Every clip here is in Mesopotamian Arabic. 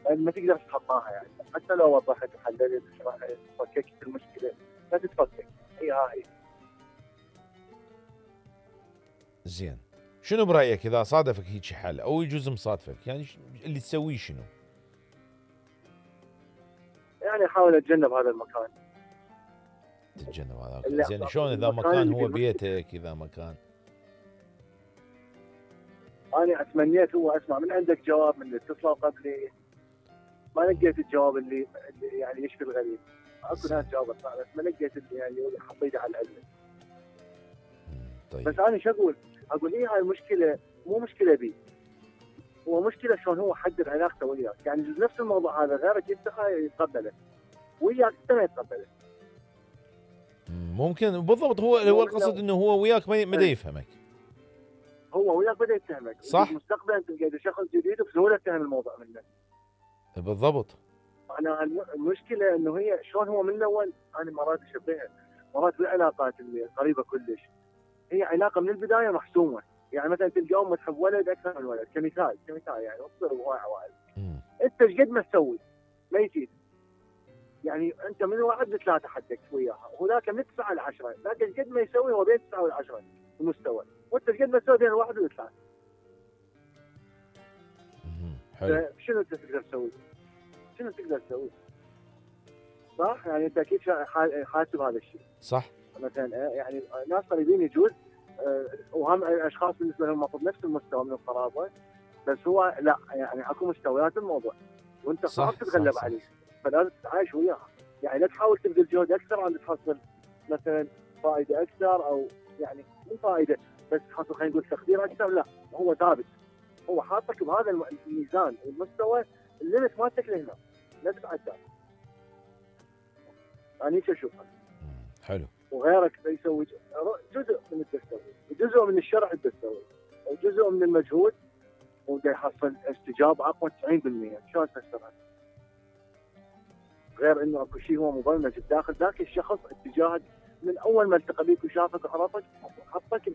ما تقدر تتخطاها يعني، حتى لو وضحت وحللت فككت المشكله لا تتفكك، هي. زين، شنو برأيك إذا صادفك هيك حل أو يجوز مصادفك، يعني اللي تسويه شنو؟ يعني احاول اتجنب هذا المكان. تتجنب هذا المكان. زين شلون إذا مكان هو بيتك، إذا مكان؟ أنا تمنيت هو أسمع من عندك جواب من اللي اتصلوا قبلي، ما لقيت الجواب اللي يعني يشفي الغريب. اكو ناس جاوبت بس ما لقيت اللي يعني حطيته على العلم. طيب. بس أنا شو أقول هاي المشكلة مو مشكلة بي، هو مشكلة شلون هو حدد علاقته وياك، يعني نفس الموضوع هذا غيرك يتقبله وياك أنت ما يتقبله. ممكن بالضبط، هو القصد انه هو وياك ما يفهمك، هو وياك بدا يتهمك، صح؟ مستقبلا تلقى شخص جديد وبسهوله تفهم الموضوع منه. بالضبط. انا المشكله انه هي شلون هو من الاول، انا مرات اشبهها مرات بالعلاقات اللي قريبه كلش، هي علاقه من البدايه محسومه، يعني مثلا تلقى ام تحب ولد اكثر من ولد كمثال يعني اصبر بهواي عوائل. انت ايش قد ما تسوي ما يفيد، يعني انت من 1 ل3 حدك وياها، وذاك من 9 ل10، ذاك ايش قد ما يسوي هو بين 9 و10 المستوى، وانت ايش قد ما تسوي بين 1 و3. حلو. شنو انت تقدر تسوي؟ شنو تقدر تسوي؟ صح؟ يعني انت اكيد حاسب هذا الشيء. صح. مثلا يعني ناس قريبين يجوز وهم اشخاص بالنسبه لهم المفروض نفس المستوى من القرابه، بس هو لا، يعني اكو مستويات الموضوع وانت صعب تتغلب عليه، فلازم تتعايش وياها، يعني لا تحاول تبذل جهد اكثر عشان تحصل مثلا فائده اكثر، او يعني مو فائده بس تحصل خلينا نقول تقدير اكثر، لا هو ثابت، هو حاطك بهذا الميزان والمستوى، الليمت مالتك لهنا لا تتعدى. أنا هيك أشوفها. حلو. وغيرك يسوي جزء من التسوي، وجزء من الشرع التسوي، وجزء من المجهود، وده يحصل استجابة أقوى 90%. شلون تفسرها؟ غير إنه أكو شيء هو مبرمج بداخل ذاك الشخص اتجاهك من أول ما التقى بيك وشافك وعرفك، حطك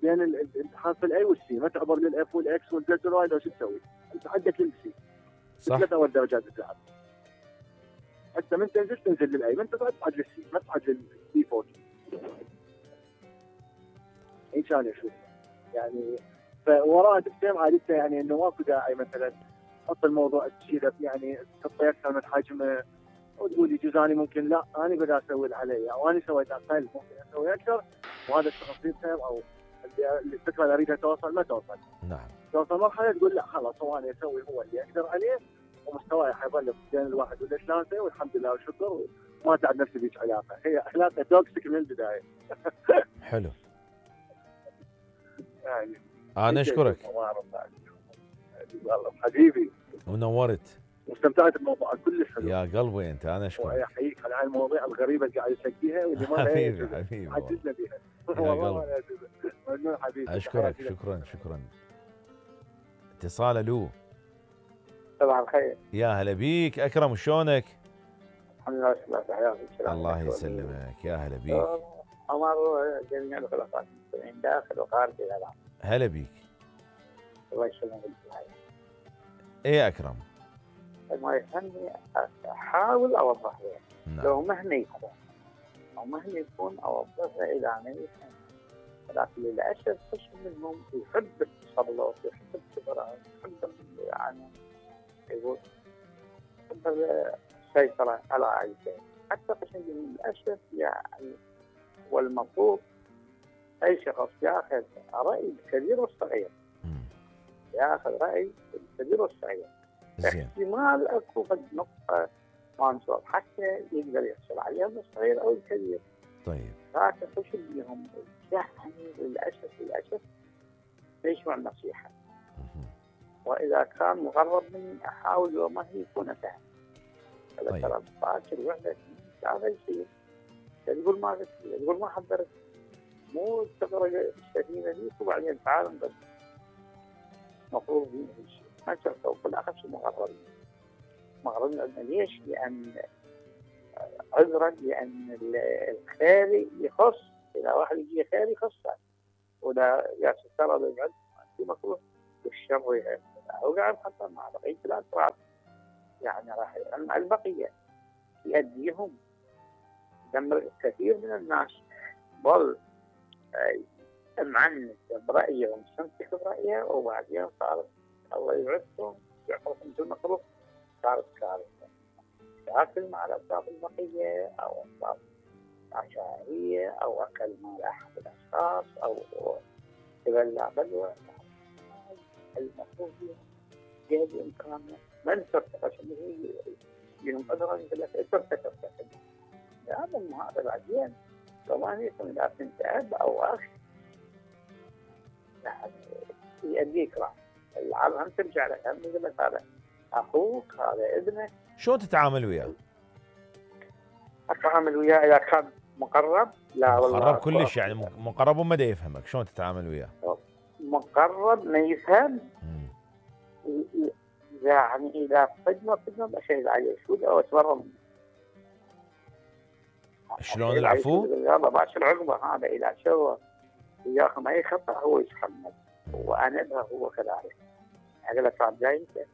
بين حرف الأي والسي، ما تعبر للإف والإكس والزد والواي، لو شو تسوي؟ أنت عندك للسي. صح. 3 أول درجات بتلعب. حتى من تنزل للأي، من تصعد للسي، ما تصعد للسي فوق. هيك انا اشوف يعني، فوراها تفهم عادته، يعني انه ماكو داعي مثلا تحط الموضوع تشيله، يعني تحطه اكثر من حجمه وتقول يجوز اني ممكن لا انا بدي اسوي اللي علي، او انا سويت اقل ممكن اسوي اكثر، وهذا الشخص يفهم، او الفكره اللي اريدها توصل ما توصل. نعم. توصل مرحله تقول لا خلاص هو انا اسوي هو اللي اقدر عليه، ومستواي حيظل بين 1 و3 والحمد لله والشكر، وما تعب نفسي بهيك علاقه، هي علاقه توكسيك من البدايه. حلو. يعني انا اشكرك والله حبيبي، ونورت واستمتعت بالموضوع كلش حلو يا قلبي. انت انا اشكرك، واحييك على المواضيع الغريبه اللي قاعد تحكيها واللي ما حبيبي عجزنا بها. يا قلبي ممنون حبيبي، اشكرك. شكرا. اتصال. الو. صباح الخير. يا هلا بيك اكرم، شلونك؟ الحمد لله حياتك. الله يسلمك، يا هلا بيك. عمر جميع الخلفاء المسلمين داخل وخارج العالم. هلا بيك. الله يسلمك. ايه يا اكرم؟ ما يهمني احاول اوضح له. نعم. لو مهني يكون اوضحها الى ان يفهم، لكن للاسف قسم منهم يحب التصرف، يحب الخبرات، يحب يعني يقول السيطرة على أي شيء. حتى قسم للأسف يعني، والمفروض أي شخص يأخذ رأي الكبير والصغير، يأخذ رأي الكبير والصغير. احتمال أكو قد نقطة ما نصور حتى يقدر يحصل عليها الصغير أو الكبير. طيب. لكن قسم بهم يعني للأسف يسمع النصيحة، وإذا كان مغرب مني أحاول وما هي يكون فاهم. طيب. ترى باكر وحدك هذا يصير، تقول ما حضرت، مو تغرق السفينة ديك وبعدين تعال نقدم. مفروض يمشي ما تشوفه بالأخص مغربنا. ليش؟ لأن عذرا لأن الخير يخص، إذا واحد يجي خير يخصه، ولا يا سترى بالعلم المفروض والشر وقاعد حتى مع بقية الأسرار. يعني راح مع البقيه يأديهم دمر كثير من الناس ظل معنت برأيه ومستمسك برأيه، وبعدين صار الله يعزهم يعرف مثل ما قلت صارت كارثة. تاكل مع الأطراف البقية أو أطراف عشائرية أو أكل مال أحد الأشخاص أو تبلع بلوى. المفروض جهد إمكانه من ترتقى شنو ينقذها يقول لك ترتقى لازم هذا بعدين كمان يكون إذا كنت أب أو أخ يعني يأديك راح العالم هم ترجع لك، هم يقول لك هذا أخوك هذا ابنك. شلون تتعامل وياه؟ أتعامل وياه إذا كان مقرب لا والله مقرب كلش يعني مقرب وما دا يفهمك، شلون تتعامل وياه؟ مقرب ما يفهم يعني إذا صدمة أشهد عليه شو أو أتبرر منه. شلون العفو؟ يلا باشر عقبه هذا إذا سوى وياكم أي خطأ هو يتحمل وأنا هو كذلك. أقول له تعال جاي أنت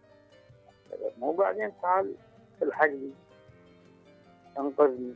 مو بعدين تعال الحقني انقذني